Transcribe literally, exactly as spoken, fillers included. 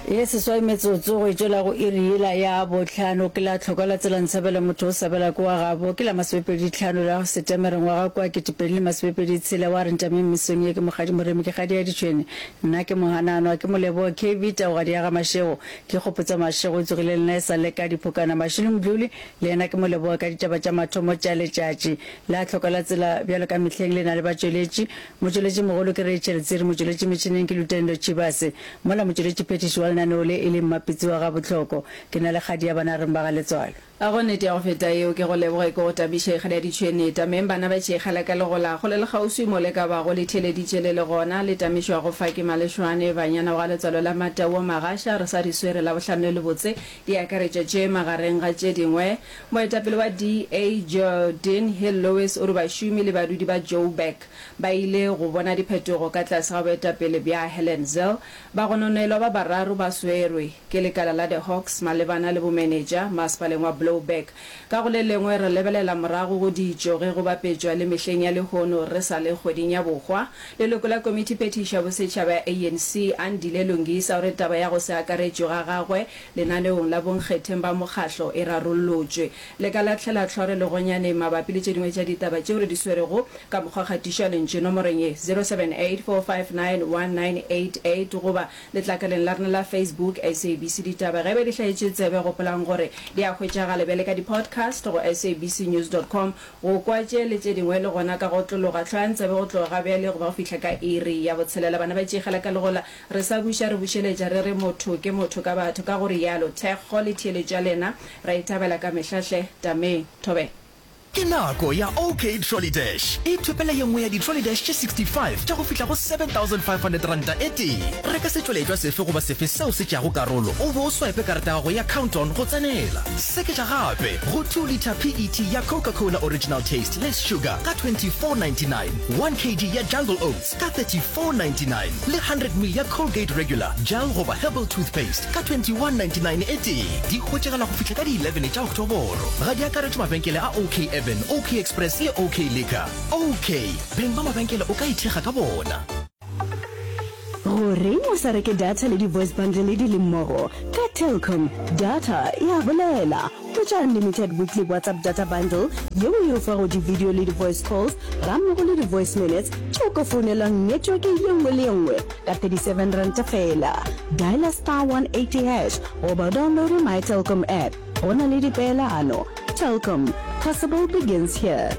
Ye seswai metsotso go e tšwela go iri yela ya bohlano ke la tlhokwa la tsela Ntshabela motho o sabela ke wa gabo ke la masomepedi tlhano la Setemere ngwaga kwa ketepedi le masomepedi tshela wa re ntameng mesong ye ke Mokgadi Moremi ke kgadi ya ditšhwene nna ke Mohananwa ke Moleboa K V Taugadi ya ga Mashego ke Kgopotsa Mashego o tsogile le nna e sa le ka diphokana Mashilo Mdluli le yena ke Moleboa ka ditaba tša mathomo tša letšatši la tlhokwa la tsela bjalo ka mehleng le na le batšweletši motšweletši mogolo ke Rachel Tsiri motšweletši metšhineng ke Lutendo Chibase mola motšweletši phethiši wa lenaneo le e le Mmapitsi wa Gabohloko ke na le kgadi ya bana reng ba ga Letswalo. A go nnete ya go feta yeo ke go leboge ke go tabiše kgadi ya ditšhwene tameng bana ba tšeegela ka legola kgole le kgauswi mo le ka bago le theeleditše le le gona le tamišwago fa ke Malešwane banyana wa ga Letswalo la Matau Magasha re sa di swere Labohlano le lebotse di akaretša tše magareng ga tše dingwe Moetapele wa D A Geordin Hill-Lewis o re bašomi le badudi ba Joburg ba ile go bona diphetogo ka tlase ga boetapele bja Helen Zille. Bagononelwa ba bararo ba swerwe ke lekala la The Hawks malebana le bomenetša masepaleng wa Blouberg. Ka go le lengwe re lebelela morago go ditšo ge go bapetšwa le mehleng ya lehono re sa le kgweding ya bohwa. Leloko la Komitiphethiši ya Bosetšhaba ya A N C Andile Lungisa o re taba ya go se akaretšwe ga gagwe lenaneong la bonkgetheng ba mokgahlo e rarollotšwe. Le ka lahlela hlore legonyane mabapi le tše dingwe tša ditaba tšeo re di swerego ka mokgwa kgatišo ya lentšu nomorong ye zero seven eight four five nine one nine eight eight goba letlakaleng la rena la Facebook S A B C Ditaba. Ge be di hlaetše tsebe gopolang gore di a hwetšagala bjale ka di-podcast go S A B C news dot com go kwa tše le tše dingwe le gona ka go otlologa. Hlwayang tsebe go tloga ga bjale go ba go fihla ka iri ya botshelela. Bana ba tšeegela ka legola re sa buša re bušeletša re re motho ke motho ka batho ka go rialo thekgo le theeletšo ya lena ra e thabela ka mehla hle tameng thobela. Ke nako ya OK Trolley Dash. Ithopele ye nngwe ya di-trolley dash tše sixty five tša go fihla go seven thousand five hundred ranta e tee. Reka setšweletšwa sefe goba sefe seo se tšeago karolo o be o swipe karata ya gago ya Count-On go tsenela. Seketša gape go two litre P E T ya Coca-Cola Original Taste Less Sugar ka twenty-four ninety-nine, one kilogram ya Jungle Oats ka thirty-four ninety-nine le hundred milliliters ya Colgate Regular Gel goba Herbal Toothpaste ka twenty-one ninety-nine e tee. Di hwetšagala go fihla ka di eleven tša Oktoboro. Ga di akaretšwe mabenkele a OK Urban, OK Express le OK Liquor. OK, beng ba mabenkele o ka ithekga ka bona. Goreng o sa reke data le di-voice bundle di le mmogo? Ka Telkom, data ya bolela. Hwetša unlimited weekly WhatsApp data bundle yeo e o fago di-video le di-voice calls gammogo le di-voice minutes tšeo ka founelang network ye nngwe le ye nngwe ka thirty-seven rand fela. Diala star one eighty hash goba download My Telkom app. Go na le dipeelano. Telkom, possible begins here.